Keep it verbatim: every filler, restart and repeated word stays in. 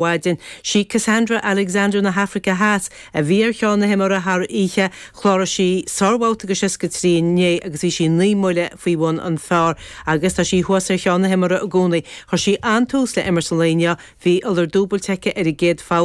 Mhaidin. Sí Cassandra Alexander na hAfraice Theas a bhí ar cheann na himeartha thar oíche. Chláraigh sí sárbhabhta de seasca trí inné agus bhí sí naoi mbuille faoi bhun an phar agus tá sí thuas ar cheann na himeartha i gcónaí. Chuir sí an-tús le imirt an lae inniu. Bhí iolar dúbailte aici ar an gcéad pholl.